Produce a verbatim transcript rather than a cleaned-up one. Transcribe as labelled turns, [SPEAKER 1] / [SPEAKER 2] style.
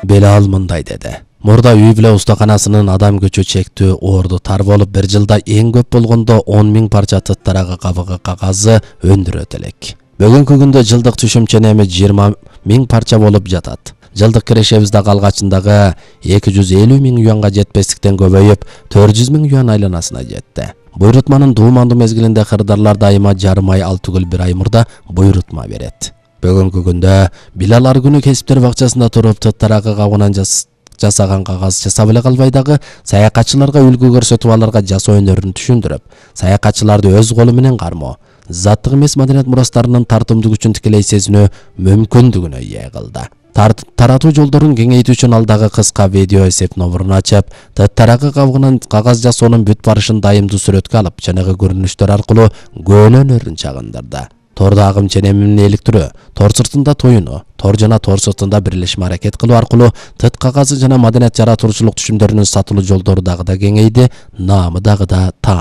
[SPEAKER 1] Белал мындай деди. Мурда үй бүлө устаканасынын адам күчү чектүү орду тар болуп, бир жылда эң көп болгондо он миң парча тыт тарагы кабыгы кагазы өндүрөт элек. Бүгүнкү күндө жылдык түшүмчө эми жыйырма миң парча болуп жатат. Жылдык кирешебиз дагы алгачындагы эки жүз элүү миң юанга жетпестиктен көбөйүп, төрт жүз миң юан айланасына жетти. Буйрутманын дуумандуу мезгилинде кырдаарлар дайыма жарым ай ал түгүл бир ай мурда буйрутма берет. Бүгүнкү күндө Билал ар күнү кесиптер бакчасында туруп тыт тарагы кабыгынан жасаган кагаз жасап эле калбай дагы саякатчыларга үлгү көрсөтүп аларга жасоо өнөрүн түшүндүрүп, саякатчыларды өз колу менен кармоо, заттык эмес маданият мурастарынын тартымдуу күчүн тикелей сезинүү мүмкүндүгүнө ээ кылды. Таратуу жолдорун кеңейтүү үчүн ал дагы кыска видео эсеп номурун ачып, тыт тарагы кабыгынан кагаз жасоонун бүт барышын дайымдуу сүрөткө алып, чыныгы көрүнүштөр аркылуу көөнө өнөрүн чагындырды. Тордо агым ченемин иликтирүү, тор сыртында тоюнуу, тор жана тор сыртында бирлешме аракет кылуу аркылуу тыт кагазы жана маданият жаратуучулук түшүмдөрүнүн сатылуу жолдору дагы да кеңейди, наамы дагы да